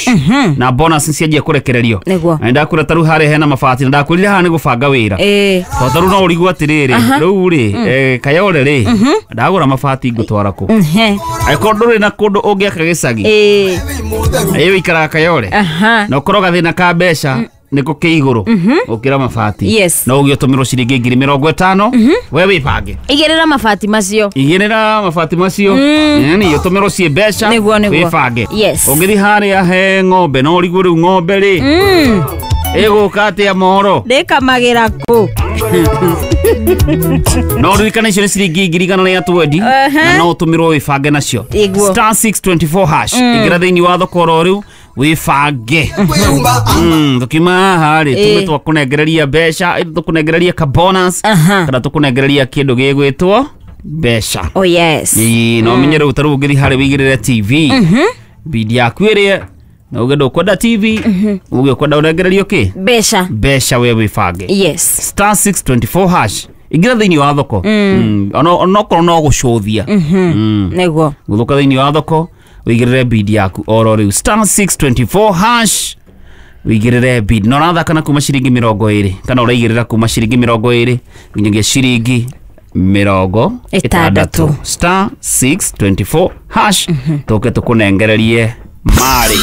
Cash na bonus cianjia kũrekererio. Nĩguo. Na nĩndakwĩra tarĩu harĩa hena mabati, na ndakwĩrire haha nĩ gũbanga wĩra. Tondũ tarĩu no ũrigwo atĩrĩrĩ, rĩu rĩ, Kayore rĩ, ndagũra mabati ngũtwara kũ? Angĩkorwo ndũrĩ na kũndũ ũngĩaka gĩcagi, ĩ wĩikaraga Kayore, na ũkorwo gathĩna ka mbeca nĩko kĩ igũrũ gũkĩra mabati, no ũgĩ ũtũmĩrwo ciringi 50,000, we wĩbange. Igĩrĩra mabati macio. Igĩrĩra mabati macio, yani ũtũmĩrwo ciĩ mbeca. Nĩguo. Wĩbange. Ũngĩthiĩ harĩa he ng'ombe, no ũrigwo rĩu ng'ombe rĩ ĩgũka atĩa moro? Ndĩkamagĩra kũ? No ũririkane icio nĩ ciringi 120,000 na no ũtũmĩrwo wĩbange nacio. Ĩguo. *624#, ingĩra thĩinĩ wa thoko oro rĩu wĩbange. Tũkiuma haha rĩ, tume twakũnengereria mbeca, tũkũnengereria ka bonus kana tũkũnengereria kĩndũ gĩgwĩtwo mbeca. Oh yes. Ĩĩ, no ũmenye rĩu tarĩu ũngĩthiĩ harĩa wĩigĩrĩre TV bidi yaku ĩrĩe na uge ndũkwenda TV, uge ũkwenda ũnengererio kĩ? Mbeca. Mbeca, we wĩbange. *624#, ingĩra thĩinĩ wa thoko. Onokorwo no gũcũthia. Gũthũka thĩinĩ wa thoko wĩigĩrĩre bid yaku oro rĩu, *624# wĩigĩrĩre bid, na ũrathaka na kuma ciringi 20, kana ũraigĩrĩra kuma ciringi 20 nginyagia ciringi mĩrongo 60. *624#, tũke tũkũnengererie marĩ.